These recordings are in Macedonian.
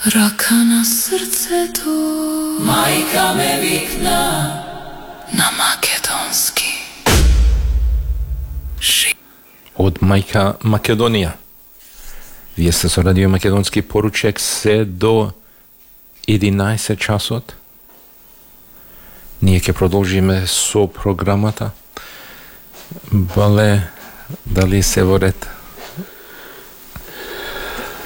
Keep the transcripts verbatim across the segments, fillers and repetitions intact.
Рака на срцето, мајка ме викна на македонски. Жи... Од мајка Македонија. Вие сте со Радио Македонски поручек се до единаесет часот. Ние ќе продолжиме со програмата. Бале, дали се во ред?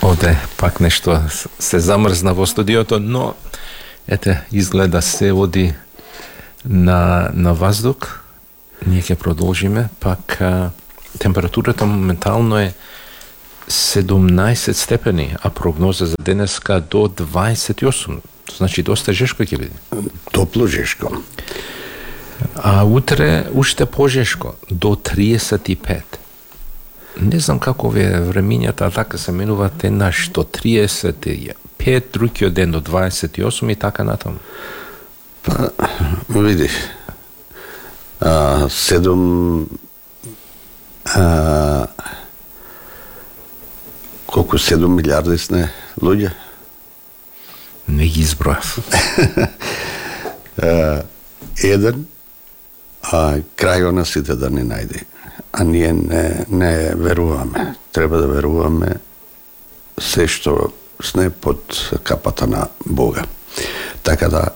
Оде, пак нешто се замрзна во студиото, но ете, изгледа се оди на, на воздух. Ние ќе продолжиме, пак а, температурата моментално е седумнаесет степени, а прогноза за денеска до дваесет и осум. Значи, доста жешко ќе биде. Топло жешко. А утре уште пожешко, до триесет и пет. Не знам како ве времињата, така се менуваат еднаш до триесет и пет, другиот ден до дваесет и осум и така натаму. Па, видиш, а, седум... А, колку седум милиарди сне луѓе? Не ги избројав. Еден, а крај на сите да ни најде. А ние не, не веруваме. Треба да веруваме се што сне под капата на Бога. Така да